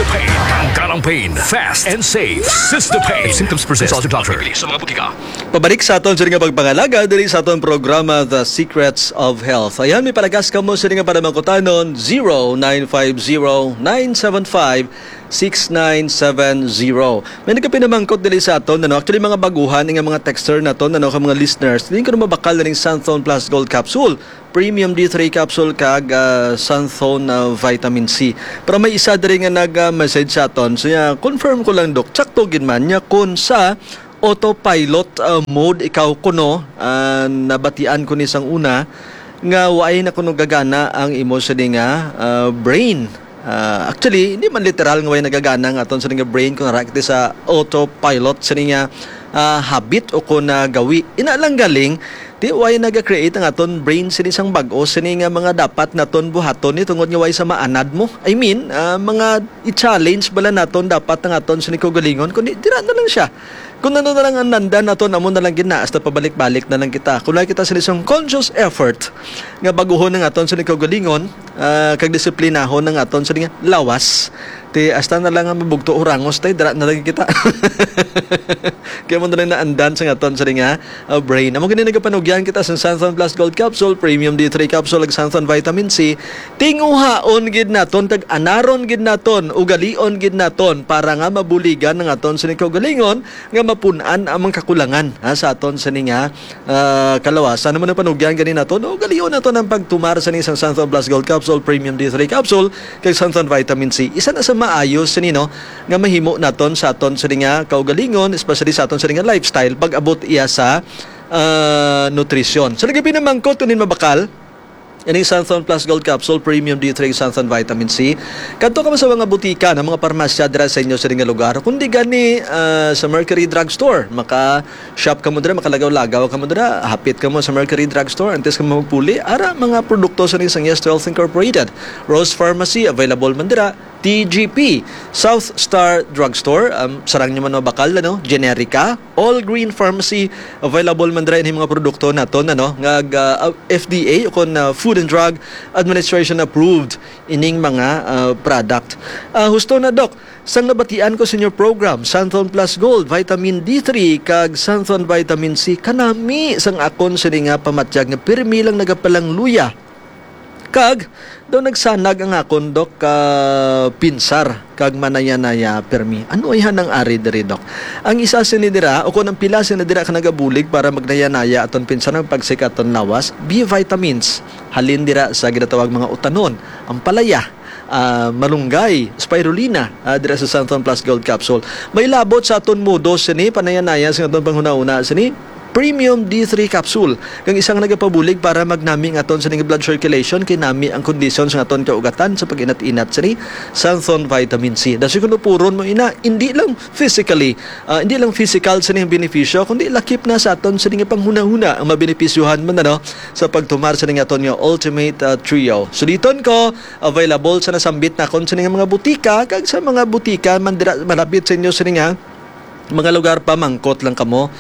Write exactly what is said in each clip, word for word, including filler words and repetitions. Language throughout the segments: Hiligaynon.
Pain. Tanggalang pain. Fast and safe. Sister Pain. If symptoms persist, consult your doctor. Sa mga butika. Pabalik sa aton sini nga pagpangalaga diri sa aton programa, The Secrets of Health. Ayan, may palagas kamo sini nga panamangkutanon, zero nine five zero nine seven five six nine seven zero. May nagapinamangkot diri sa aton, ano? Actually, mga baguhan nga mga texter naton, ano, ka mga listeners. Dili ko na mabakal na ning Santhon Plus Gold Capsule, Premium D three Capsule, kag, ah, Santhon, ah, Vitamin C. Pero may isa diri nga nag, ah, message sa aton. So, yeah, confirm ko lang, Doc. Sakto gid man niya kung sa autopilot, ah, mode ikaw kuno, ah, nabatian ko ni sang una nga waay na kuno gagana ang imo sini nga, ah, brain. Ah, actually, hindi man literal nga way nagagana nga aton sini nga brain kung ara kita sa autopilot sini nga, ah, habit o kung, ah, gawi. Ina lang galing, di way naga-create ang aton brain sini sang bag-o sini nga mga dapat naton buhaton ni tungod nga way sa maanad mo. I mean, ah, mga i-challenge bala naton dapat ang aton sini kaugalingon, kundi dira na lang siya. Kung ano na lang ang nandan naton, amo na lang gid na, hasta pabalik-balik na lang kita. Kung wala kita sini sang conscious effort nga baguhon ang aton sini kaugalingon, ah, kag disiplinahon ang aton sini nga lawas, ti hasta na lang nga mabugto o rangos, tay, dira na lang kita. Kaya mo na lang naandan sa aton sini nga, ah, brain. Amo gani nagapanugyan kita sa Santhon Plus Gold Capsule, Premium D three Capsule, ag Santhon Vitamin C. Tinguhaon gid naton, kag anaron gid naton, ugalion gid naton, para nga mabuligan ang aton sini kaugalingon, nga mapun-an ang mga kakulangan, ha, sa aton sini nga, ah, kalawasan. Amo na panugyan gani naton, no? Ugalion naton ang pagtumar sini sang Santhon Plus Gold Capsule, Premium D three Capsule, kag Santhon Vitamin C. Isa na sa maayo sini, no, nga mahimo naton sa aton sini nga kaugalingon, especially sa aton sini nga lifestyle, pag-abot iya sa, ah, nutrisyon. So, lagi pinamangkot kung din mabakal, ining Santhon Plus Gold Capsule, Premium D three, Santhon Vitamin C. Kadto ka man sa mga butika, na mga parmasya dira sa inyo sa nga lugar, kundi gani, ah, sa Mercury Drugstore. Maka-shop ka mo dira, makalagaw-lagaw ka mo dira, hapit ka mo sa Mercury Drugstore, antes ka mo magpuli, ara mga produkto sa isang Yes Health Incorporated. Rose Pharmacy, available man dira. T G P, South Star Drugstore, um, sarang nyo man mabakal, ano, Generica, All Green Pharmacy, available man dira ining mga produkto naton, ano, nga, ah, F D A o kon, ah, Food and Drug Administration approved ining mga, ah, product. Ah, husto na, Doc, sang nabatian ko sa inyo program, Santhon Plus Gold, Vitamin D three, kag Santhon Vitamin C, kanami sang akon sini nga pamatyag nga pirmi lang nagapalangluya. Kag daw nagsanag ang akon, Dok, ka pinsar kag manaya-naya pirmi. Ano ay hanang ari diri, Dok? Ang isa sini dira, o kon ang pila sini dira ka nagabulig para magnaya-naya aton pinsar, magpagsik aton lawas, B vitamins. Halin dira sa ginatawag mga utanon, ampalaya, ah, malunggay, spirulina, ah, dira sa Santhon Plus Gold Capsule. May labot sa aton modo sini, panaya-naya sa aton panghuna-huna sini. Premium D three capsule, kang isa nga nagapabulig para magnami ang aton sini nga blood circulation, kay nami ang kondisyon sa aton kaugatan sa pag-inat-inat sini, Santhon Vitamin C. Dasi kuno puron mo ina, hindi lang physically, ah, hindi lang physical sini ang benepisyo, kundi lakip na sa aton sini nga panghunahuna ang mabenepisyohan man, ano, sa pagtumar sini nga aton nga Ultimate, ah, Trio. Suliton ko, available sa nasambit nakon sini nga mga butika, kag sa mga butika man dira malapit sa inyo sini nga mga lugar pa, mangkot lang kamo,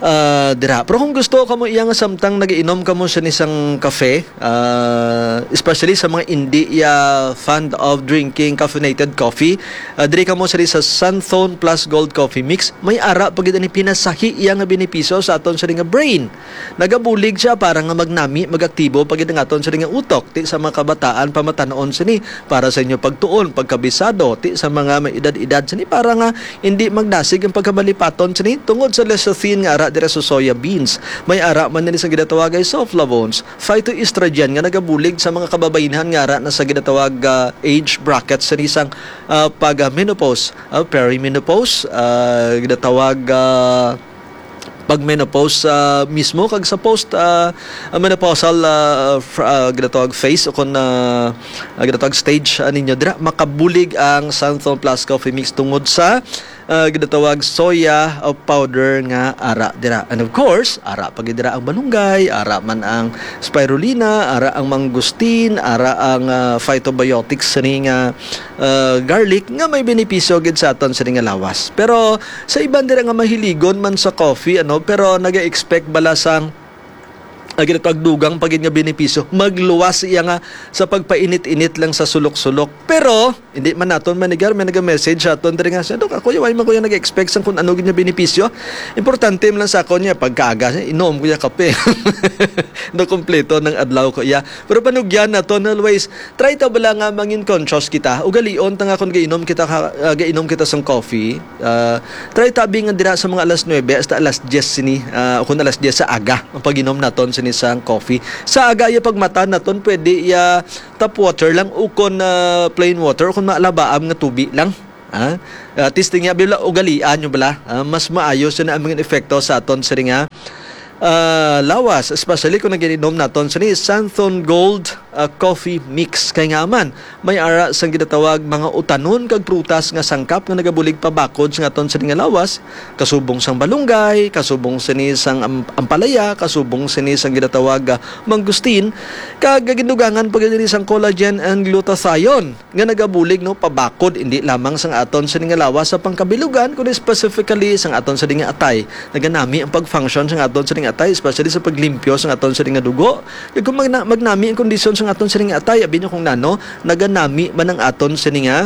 ah, dira. Pero kung gusto kamo iya nga samtang nag-iinom kamo sa isang cafe, ah, especially sa mga hindi iya fond of drinking caffeinated coffee, ah, diri kamo sa, sa Santhon Plus Gold Coffee Mix, may ara pa gid ani pinasahi iya nga benepisyo sa aton sa nga brain. Nagabulig siya para nga magnami, magaktibo pa gid ang aton sini nga utok, ti sa mga kabataan, pamatan-on sini, para sa inyo pagtuon, pagkabisado, ti sa mga may edad-edad sini, para nga hindi magdasig ang pagkamalipaton sini tungod sa lecithin nga ara dira sa soya beans. May ara man nini sa ginatawag ay sulflavones, phytoestrogen nga nagabulig sa mga kababaynhan nga ara na sa ginatawag, ah, age bracket sini sang, ah, pag, ah, menopause, ah, perimenopause, ah, ginatawag, ah, pag-menopause, ah, mismo, kag sa post, ah, ah, menopausal, ah, fr-, ah, ginatawag phase o kon, ah, ah, ginatawag stage, ah, ninyo dira, makabulig ang Santhon Plus Coffee Mix tungod sa, ah, ginatawag soya, ah, powder nga ara dira. And of course, ara pa gid dira ang malunggay, ara man ang spirulina, ara ang mangosteen, ara ang, ah, phytobiotics sini nga, ah, garlic nga may benepisyo gid sa aton sini nga lawas. Pero sa iban dira nga mahiligon man sa coffee, ano, pero naga-expect bala sang Ang ginatawag dugang pa gid nga benepisyo, magluwas iya nga sa pagpainit-init lang sa sulok-sulok. Pero hindi man naton manigar, may naga-message sa aton diri nga, "Dok, ako, way man ko nag-expect sang kung ano gid nga benepisyo. Importante man lang sa akon niya pagkaaga, inom ko ya kape." Nakompleto ng adlaw ko iya. Pero panugyan naton always, try ta bala nga mangin conscious kita. Ugalion ta nga kung gainom kita ka, ah, gainom kita sang coffee, ah, try ta bi nga dira sa mga alas nuebe hasta alas diyes sini, ah, o kung alas diyes sa aga ang pag-inom naton sini sang coffee. Sa aga iya pagmata naton, pwede iya tap water lang o kon, ah, plain water o kon maalabaam nga tubi lang. Ah, ah, testing niya, bila ugalian nyo bala. Ah, mas maayo sina ang mga epekto sa aton sini nga, ah, lawas, especially kung nagiinom naton sini Santhon Gold, ah, Coffee Mix. Kay nga man, may ara sang ginatawag mga utanon kag prutas nga sangkap nga nagabulig pabakod sa aton sini nga lawas, kasubong sang balunggay, kasubong sini sang am-, ampalaya, kasubong sini sang ginatawag, ah, mangustin, kag gindugangan pa gid ini sang collagen and glutathione nga nagabulig, no, pabakod indi lamang sang aton sini nga lawas sa pangkabilugan, kundi specifically sang aton sini nga atay. Naganami ang pag-function sang aton sini nga atay, especially sa paglimpyo sang aton sini nga dugo. Kag kung magna-, magnami ang kondisyon sang aton sini nga atay, abi nyo kung nano, naganami man ang aton sini nga,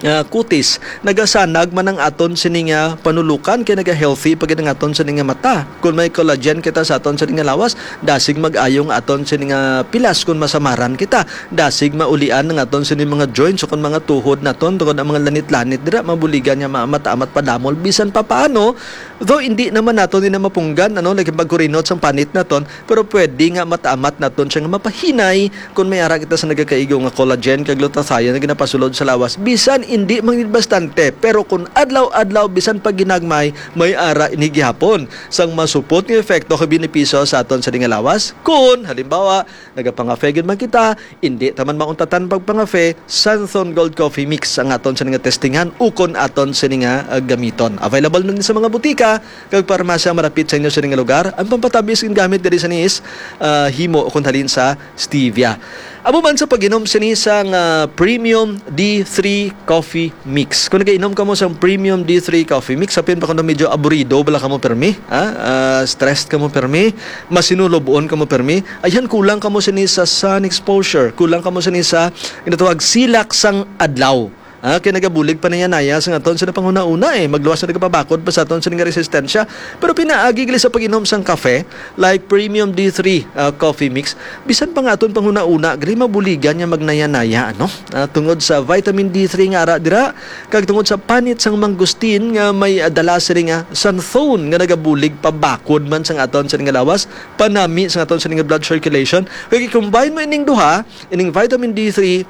ah, kutis. Nagasanag man ang aton sini nga panulukan, kay naga-healthy pa gid ang aton sini nga mata. Kung may collagen kita sa aton sini nga lawas, dasig mag-ayo ang aton sini nga pilas kung masamaran kita. Dasig maulian ang aton sini mga joints o kung mga tuhod naton, tungod ang mga lanit-lanit dira, mabuligan niya maamat-amat padamol. Bisan pa paano, though hindi naman naton ni na mapunggan, ano, like pagkurinot sang panit naton, pero pwede nga mataamat naton siya nga mapahinay kung may ara kita sa nagakaigo nga collagen kag glutathione nga ginapasulod sa lawas. Bisan hindi man gid bastante, pero kung adlaw-adlaw, bisan pag ginagmay, may ara ini gihapon sang masupot nga epekto kag benepisyo sa aton sini nga lawas. Kung, halimbawa, nagapangafe gid man kita, hindi ta man mauntatan pagpangafe, Santhon Gold Coffee Mix ang aton sini nga testingan ukon aton sini nga, ah, gamiton. Available na ni sa mga butika kag parmasya marapit sa inyo sini nga lugar. Ang pampatamis gingamit diri sa niis, ah, himo ukon halin sa stevia. Amo man sa pag-inom sini sang, ah, Premium D three Coffee Mix. Kung nagainom kamo sang Premium D three Coffee Mix, apin pa kung medyo aburido bala kamo permi, ha? Ah, stressed kamo permi, masinulobon kamo permi, ayan, kulang kamo sini sa sun exposure, kulang kamo sini sa ginatawag silak sang adlaw. Ah, kay nagabulig pa niya naya sa aton sini panghuna-una, eh. Magluwas na nagapabakod pa sa aton sini nga resistensya. Pero pinaagi gali sa pag-inom sang kafe, like Premium D three, ah, Coffee Mix, bisan pa nga aton panghuna-una, gali mabuligan niya magnaya-naya, ano? Ah, tungod sa vitamin D three nga ara dira, kag tungod sa panit sang mangustin nga may, ah, dala sini nga xanthone nga nagabulig pabakod man sang aton sini nga lawas, panami sang aton sini nga blood circulation. Kag i-combine mo ining duha, ining vitamin D three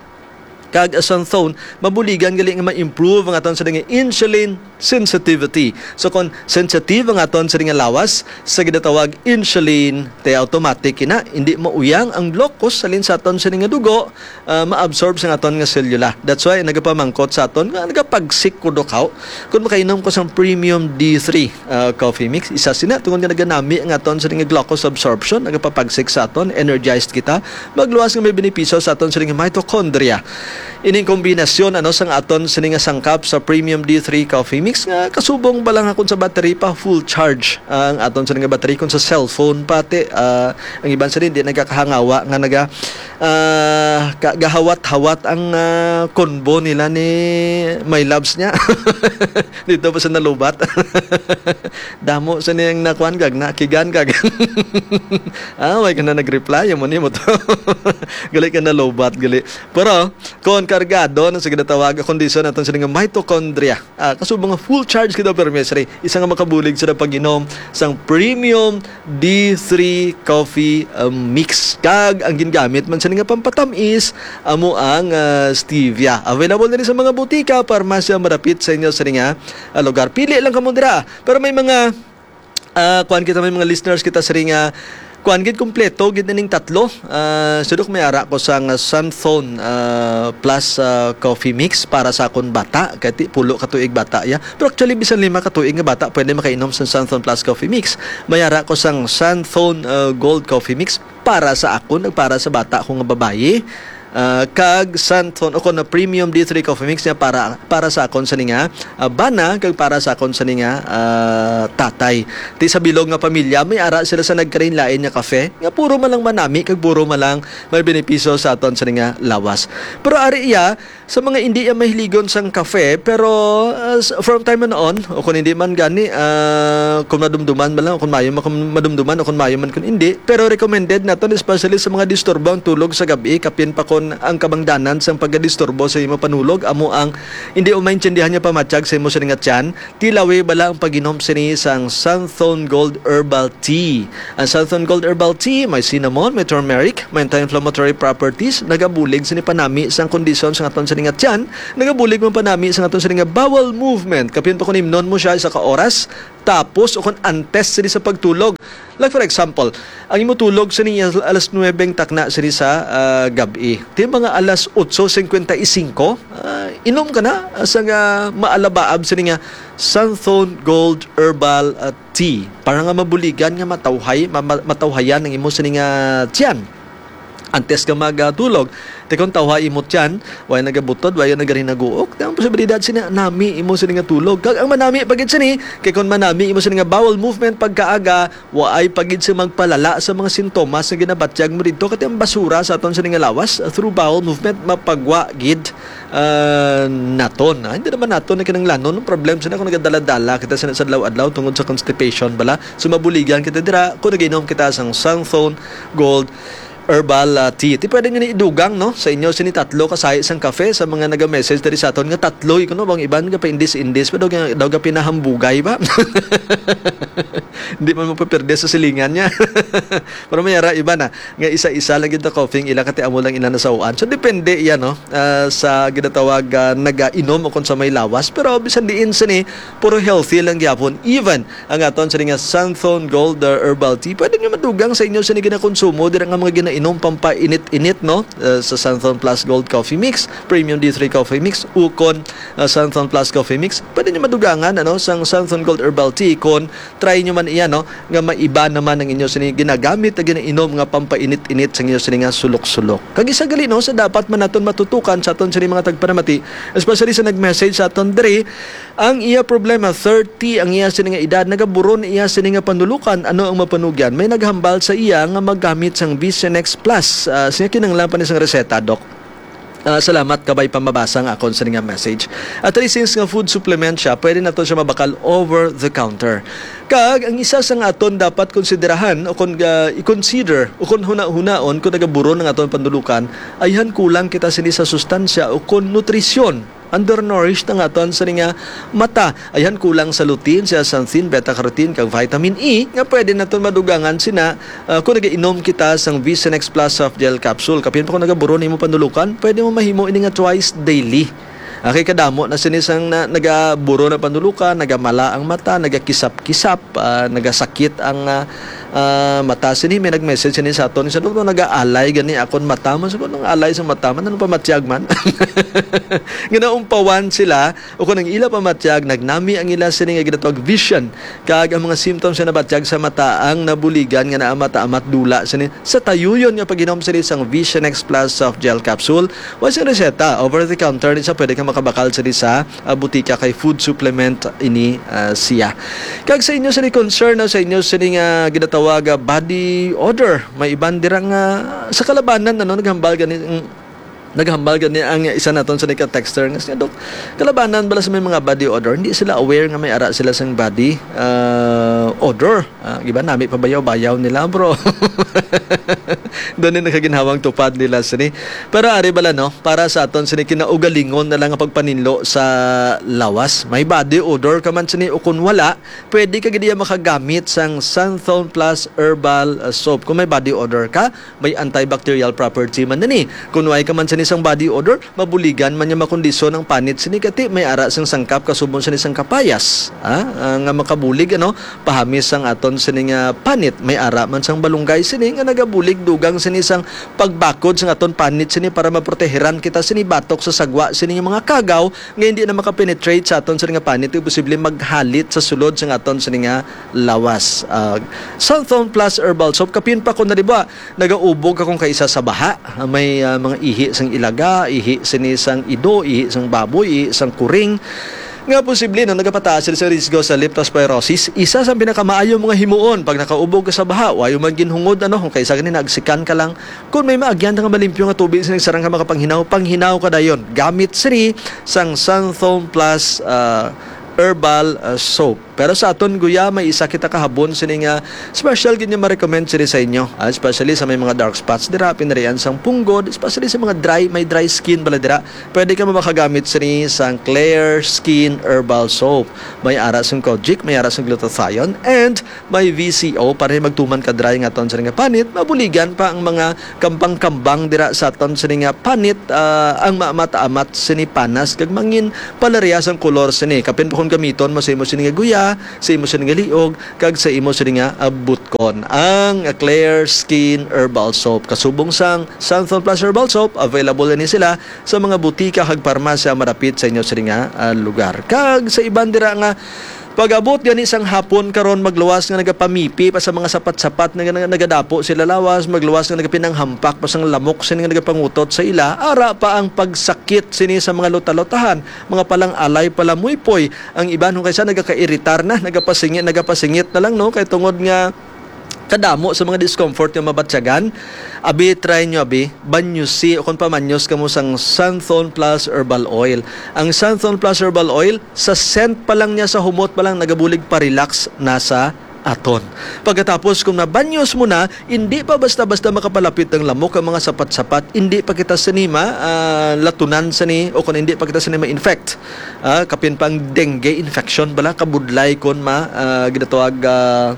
kag xanthone, mabuligan gali nga ma-improve ang aton sini nga insulin sensitivity. So, kung sensitive ang aton sini nga lawas sa ginatawag insulin, te automatic ina, hindi mauyang ang glucose halin sa aton sini nga dugo, ah, ma-absorb sa aton nga selula. That's why nagapamangkot sa aton nga nagapagsik ko, Dok, haw, kung makainom ko sang Premium D three, ah, Coffee Mix, isa sina tungod nga naganami ang aton sini nga glucose absorption, nagapapagsik sa aton, energized kita, magluwas nga may benepisyo sa aton sini nga mitochondria. Ining kombinasyon, ano, sang aton sini nga sangkap sa Premium D three Coffee Mix nga kasubong bala nga kung sa battery pa, full charge ang aton sini nga battery, kung sa cellphone pati, ah, ang iban sini di nagakahangawa nga naga, ah, ka-, gahawat-hawat ang, ah, convo nila ni my loves niya. Dito pa sa nalubat. Damo sa niyang nakuan kag nakigan kag. Ah, way ka na nag-reply, amo ni mo to. Gali ka na lobat, gali. Pero, kung kargado na sa ginatawag, kondisyon naton sini nga mitochondria. Ah, kasubong nga full charge kita, pero, Miss Ray, isa nga makabulig sa pag-inom sang premium D three coffee, um, mix. Kag ang gingamit man sini nga pampatamis, amo ang, ah, stevia. Available na ni sa mga butika, parmasya, marapit sa inyo sini nga, ah, lugar. Pili lang kamo dira. Pero may mga, ah, kuan kita, may mga listeners kita sini nga, kuan gid, kompleto gid ning tatlo. Ah, sudok may ara ko sang, ah, Santhon, ah, plus, ah, coffee mix para sa akon bata. Kay ti-, pulo ka tuig bata ya. Pero actually, bisan lima ka tuig nga bata, pwede makainom sa Santhon plus coffee mix. May ara ko sang Santhon, ah, Gold Coffee Mix para sa akon, ug para sa bata ko nga babayi. ah, kag Santon o kon na premium D three coffee mix nga para, para sa akon sini nga, ah, bana kag para sa akon sini nga, ah, tatay. Ti sa bilog nga pamilya, may ara sila sa nagkalain-lain nga kafe nga puro man lang manami kag puro man lang may benepisyo sa aton sini nga lawas. Pero ari iya, sa mga indi iya mahiligon sang kafe, pero, ah, s-, from time on, o kung hindi man gani, ah, kung madumduman man lang, o kung maayo man kung madumduman, o kung maayo man kung hindi, pero recommended naton, especially sa mga disturbo ang tulog sa gabi, kapin pa kon ang kabangdanan sang pagkadisturbo sa imo panulog amo ang hindi mo maintindihan nga pamatyag sa imo sini nga tiyan, tilawi bala ang pag-inom sini sang Santhon Gold Herbal Tea. Ang Santhon Gold Herbal Tea may cinnamon, may turmeric, may anti-inflammatory properties, nagabulig sini panami sang kondisyon sa aton sini nga tiyan, nagabulig man panami sa aton sini nga bowel movement. Kapin pa kon imnon mo siya isa ka oras, tapos o kon antes sini sa pagtulog. Like for example, ang imo tulog sini al-, alas nuwebe ang takna sini sa, ah, gab-i. Ti mga alas otso cincuenta y cinco, ah, inom ka na sa nga maalabaab sini nga Santhon Gold Herbal, ah, Tea para nga mabuligan nga matawhay, ma-, ma-, matawhayan ang imo sini nga tiyan. Antes ka magtulog, ti kon tawhay imo tiyan, way nagabutod, way nagarinaguok, ang posibilidad sina nami imo sini nga tulog. Kag ang manami pa gid sini, kay kon manami imo sini nga bowel movement pagkaaga, waay pa gid sing magpalala sa mga sintomas nga ginabatyag mo didto, kati ang basura sa aton sini nga lawas, ah, through bowel movement, mapagwa gid, ah, naton. Ah, hindi naman naton na kinahanglanon. Ang problem sina kung nagadala-dala kita sa, sa adlaw-adlaw tungod sa constipation bala. So, mabuligan kita dira kung nag-inom kita sang Santhon Gold Herbal, ah, Tea. Ti pwede nyo ni idugang, no? Sa inyo sini tatlo ka sahi sang kafe, sa mga naga-message diri sa aton nga tatlo, kuno bang iban nga paindis-indis pa daw, daw nga pinahambugay ba? Hindi man mapaperde sa silingan niya. Pero may ara iba na nga isa-isa lang gid na coffee ang ila, kati amo lang ila nasauan. So, depende iya, no? Ah, sa ginatawag, ah, nagainom o kung sa may lawas. Pero bisan diin sini, puro healthy lang gyapon. Even ang aton sini nga Santhon Gold, ah, Herbal Tea, pwede nyo madugang sa inyo sini ginakonsumo dira nga mga ginainom pampainit-init, no? Ah, sa Santhon Plus Gold Coffee Mix, Premium D three Coffee Mix, ukon, ah, Santhon Plus Coffee Mix, pwede nyo madugangan, ano, sang Santhon Gold Herbal Tea kon try nyo man iya, no, nga maiba naman ang inyo sini ginagamit na ginainom nga pampainit-init sa inyo sini nga sulok-sulok. Kag isa gali, no, sa dapat man naton matutukan sa aton sini mga tagpanamati, especially sa nag-message sa aton diri, ang iya problema, thirty ang iya sini nga edad, nagaburon iya sini nga panulukan, ano ang mapanugyan? May naghambal sa iya nga maggamit sang Vision X Plus. Ah, siya kinahanglan pa ni sang reseta, Doc. Ah, salamat kabay pa mabasa nga akon sa nga message. At least since nga food supplement siya, pwede nato siya mabakal over the counter. Kag ang isa sa nga aton dapat konsiderahan o kung, ah, i-consider o kung huna-hunaon kung nagaburon ang aton panulukan, ayhan kulang kita sini sa sustansya o kung nutrisyon. Undernourished ang aton sa nga mata. Ayhan kulang sa lutein, zeaxanthin, beta-carotene, kag vitamin E nga pwede naton madugangan sina, ah, kung nagainom kita sang Vision X Plus Soft Gel Capsule. Kapin pa kung nagaburon nimo panulukan, pwede mo mahimo ini nga twice daily. Ah, kay kadamo na sini sang na, nagaburo na panulukan, nagamala ang mata, nagakisap-kisap, ah, nagasakit ang, ah, ah, mata. Sini may nag-message sini sa aton, sa doktor, nagaalay gani akon mata. Man, sa nang alay sa mata man, ano pa matyag man? Nga naumpawan sila, o kung ang ila pamatyag, nagnami ang ila sini nga ginatawag vision. Kag ang mga symptoms nga nabatyag sa mata ang nabuligan nga naa mata-amat dula sini sa tayuyon nga pag-inom sini sang Vision X Plus Soft Gel Capsule. Wa sing reseta, over the counter ni sa pwede ka makabakal sini sa, ah, butika kay food supplement ini, ah, siya. Kag sa inyo sini concern, no, sa inyo sini nga ginatawag, ah, body odor, may iban dira nga sa kalabanan, ano, naghambal gani, mm, naghambal gani ang isa naton sa nika texter nga siya, "Dok, kalabanan bala sa may mga body odor, hindi sila aware nga may ara sila sang body, ah, odor." Ah, iba nami pa bayaw-bayaw nila, bro. Doon yung nakaginhawang tupad nila sini. Pero ari bala, no, para sa aton sini kinaugalingon na lang ang pagpaninlo sa lawas. May body odor ka man sini o kung wala, pwede ka gid iya makagamit sang Santhon Plus Herbal, ah, Soap. Kung may body odor ka, may antibacterial property man nini. Kung way ka man sini sang body odor, mabuligan man niya makondisyon ang panit sini kati may ara sang sangkap kasubon sini sang kapayas, ah, ah, nga makabulig, ano, pahami misang aton sini nga panit. May ara man sang balunggay sini nga nagabulig dugang sini sang pagbakod sang aton panit sini para maprotehiran kita sini batok sa sagwa sini nga mga kagaw nga hindi na makapenetrate sa aton sini nga panit, ug posible maghalit sa sulod sang aton sini nga lawas. Ah, Santhon Plus Herbal Soap, kapin pa ko na, di ba? Nagaubog ka kung kaisa sa baha. Ah, may, ah, mga ihi sang ilaga, ihi sini sang ido, ihi sang baboy, ihi sang kuring. Nga posible, no, nagapataas sila sa risgo sa leptospirosis. Isa sa pinakamaayong mga himuon pag nakaubog ka sa baha, wayo man ginhungod, ano, kung kaisa gani nagsikan ka lang. Kung may maagyan nga malimpyo nga tubig sa nagsarang ka makapanghinaw, panghinaw ka dayon. Gamit sini sang Santhon Plus, ah, Herbal, ah, Soap. Pero sa aton guya, may isa kita kahabon sini nga special gid nga ma-recommend sini sa inyo, ah, especially sa may mga dark spots dira, pinarian sang punggod, especially sa mga dry, may dry skin bala dira. Pwede ka makagamit sini sang Clear Skin Herbal Soap. May ara sang kojic, may ara sang glutathione, and may V C O para magtuman ka dry nga aton sini nga panit, mabuligan pa ang mga kambang-kambang dira sa aton sini nga panit, ah, ang maamat-amat sini panas kag mangin palaria sang kolor sini. Kapin pa kon gamiton mo sa imo sini nga guya, sa imo sini nga liog, kag sa imo sini nga, ah, butkon. Ang Clear Skin Herbal Soap. Kasubong sang Santhon Plus Herbal Soap, available ni sila sa mga butika kag parmasya madapit sa inyo sini nga, ah, lugar. Kag sa iban dira nga pag-abot gani sang hapon karon, magluwas nga nagapamipi pa sa mga sapat-sapat nga, nga nagadapo sila lawas, magluwas nga nagapinanghampak pa sang lamok sini nga nagapangutot sa ila, ara pa ang pagsakit sini sa mga luta-lutahan, mga palang-alay, palamuypoy. Ang iban kung kaisa nagakairitar na, nagapasingit, nagapasingit na lang, no, kay tungod nga kadamo sa mga discomfort nga mabatyagan. Abi, try nyo, abi, banyusi o kung pamanyos kamo sang Santhon Plus Herbal Oil. Ang Santhon Plus Herbal Oil, sa scent pa lang niya, sa humot pa lang, nagabulig pa-relax na sa aton. Pagkatapos, kung nabanyos mo na, hindi pa basta-basta makapalapit ang lamok ang mga sapat-sapat, hindi pa kita sini ma, ah, latunan sini, o kung hindi pa kita sini ma-infect. Ah, kapin pang dengue infection bala, kabudlay kon ma, ah, ginatawag, ah,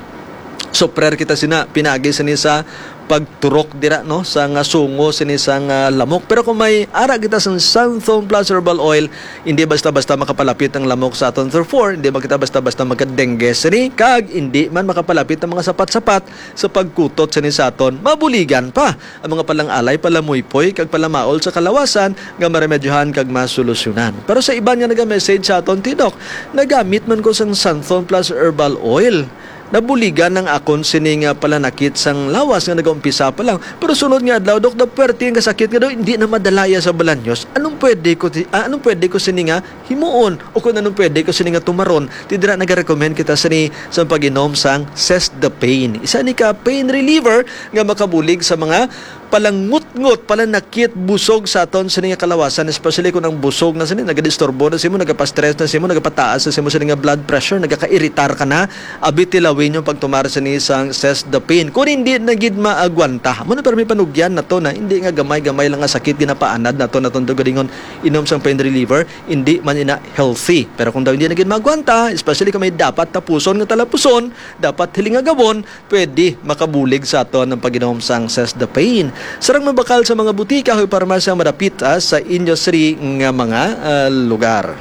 suffer kita sina, pinagi sini sa pagturok dira, no, sa nga sungo sini sa nga lamok. Pero kung may ara kita sang Santhon Plus Herbal Oil, hindi basta-basta makapalapit ang lamok sa aton. Therefore, hindi man kita basta-basta magka-dengue sini, kag hindi man makapalapit ang mga sapat-sapat sa pagkutot sini sa aton. Mabuligan pa ang mga palang-alay, palamuypoy, kag palamaol sa kalawasan nga maremedyohan kag masolusyonan. Pero sa iban nga naga-message sa aton, "Ti Doc, nagamit man ko sang Santhon Plus Herbal Oil. Nabuligan ang akon sini nga palanakit sang lawas nga nagaumpisa pa lang. Pero sunod nga adlaw, Doc, daw puwerte ang kasakit nga daw hindi na madala iya sa balanyos. Anong pwede ko ti-, ah, anong pwede ko sini nga himuon? O kung anong pwede ko sini nga tumaron?" Ti dira nagarekomend kita sini sa pag-inom sang Cess the Pain. Isa ni ka pain reliever nga makabulig sa mga palangutngot, palanakit, busog sa aton sini nga kalawasan, especially kung ang busog na sini nagadisturbo na simo, nagapastress na simo, nagapataas na simo sini nga blood pressure, nagakairitar ka na. Abi, tilawin yung pagtumar sini sang Cess the Pain. Kung hindi na gid maagwanta, mo na, pero may panugyan na to na hindi nga gamay-gamay lang nga sakit ginapaanad nato, naton dugalingon inom sang pain reliever, hindi man ina healthy. Pero kung daw hindi na gid maagwanta, especially kung may dapat tapuson nga talapuson, dapat hilingagawon, pwede makabulig sa aton ang pag-inom sang Cess the Pain. Sarang mabakal sa mga butika o parmasya madapit, ah, sa inyo siri nga mga, ah, lugar.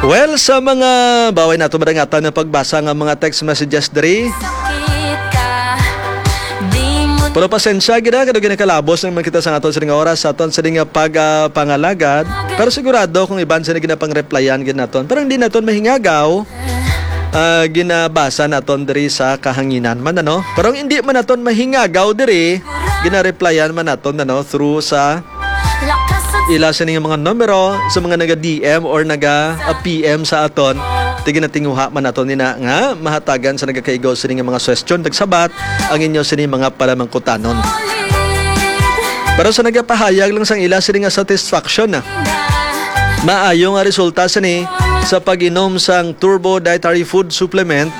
Well, sa mga baway nato madangatan ng pagbasa nga mga text messages diri. Pero pasensya gid, ah, kay daw ginakalabos naman kita sa aton sining oras, sa aton sining nga pag, ah, pangalagad. Pero sigurado kung iban sila ginapang-replyan gid naton. Pero hindi naton mahingagaw, ah, ginabasa naton diri sa kahanginan man, ano? Pero ang hindi man naton mahingagaw diri, gina-replyan man naton, ano, through sa ila sining mga numero, sa mga naga-D M or naga, ah, P M sa aton. Ti ginatinguha man naton nina nga mahatagan sa nagakaigo sini nga mga suwestyon, nagsabat ang inyo sini mga palamangkutanon. Pero sa nagapahayag lang sang ila sini nga satisfaction na maayo nga resulta sini sa pag-inom sang Turbo Dietary Food Supplement.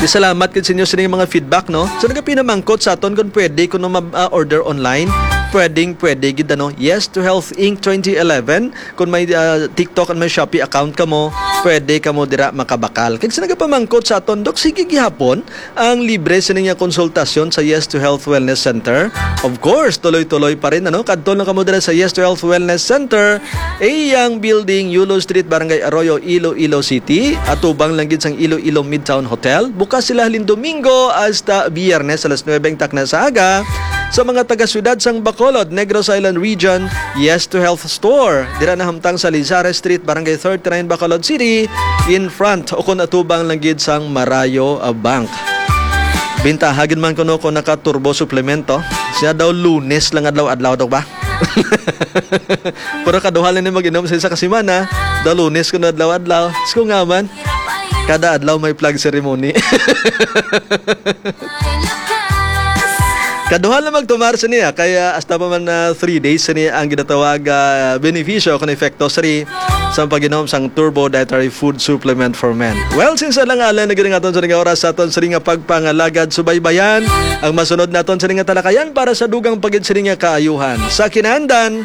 Di salamat gid sa inyo sini nga mga feedback, no? So, nagapinamangkot sa aton kung pwede kuno ma-, ah, order online. pwedeng pwede gid, ano. Yes to Health Inc twenty eleven. Kung may, ah, TikTok and may Shopee account kamo, pwede kamo dira makabakal. Kag sa nagapamangkot sa aton, Dok, sige gihapon ang libre sini nga konsultasyon sa Yes to Health Wellness Center. Of course, tuloy-tuloy pa rin, ano? Kadto lang kamo dira sa Yes to Health Wellness Center, A Yang Building, Yulo Street, Barangay Arroyo, Iloilo City. Atubang lang gid sang Iloilo Midtown Hotel. Bukas sila halin Domingo hasta Biyernes, alas nuebe ang takna sa aga. Sa mga taga-siyudad sang Bacolod, Negros Island Region, Yes to Health Store. Dira nahamtang sa Lizares Street, Barangay thirty-nine, Bacolod City, in front o kon atubang lang gid sang Marayo, ah, Bank. Bintaha gid man kuno kung naka-turbo suplemento. Siya daw Lunes lang adlaw-adlaw daw ba? Pero kaduha lang ni mag-inom sa isa ka semana, daw Lunes kuno adlaw-adlaw. Diyos ko nga man, kada adlaw may flag ceremony. Kaduha lang magtumar sa niya, kaya hasta pa man na three days sa niya ang ginatawag, ah, benepisyo kung epekto sa ri sa pag-inom sang Turbo Dietary Food Supplement for Men. Well, since alang-alang na gid ang aton sa nga oras sa aton sa nga pagpangalagad, subaybayan ang masunod naton sa nga talakayan para sa dugang pagid sa nga kaayuhan. Sa kinandan,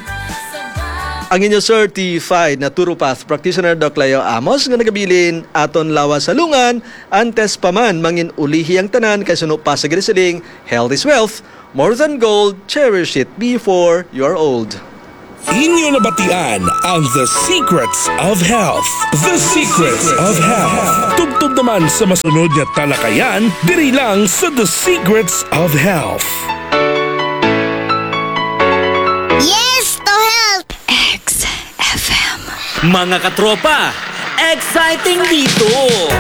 ang inyo certified naturopath practitioner, Doc Leo Amos, nga nagabilin aton lawas sa lungan, antes pa man mangin ulihi ang tanan kay suno pa sa ginasiling, health is wealth, more than gold, cherish it before you're old. Inyo nabatian ang The Secrets of Health. The Secrets of Health. Tubtob naman sa masunod nga talakayan diri lang sa The Secrets of Health. Yes to health! X F M. Mga katropa, exciting dito!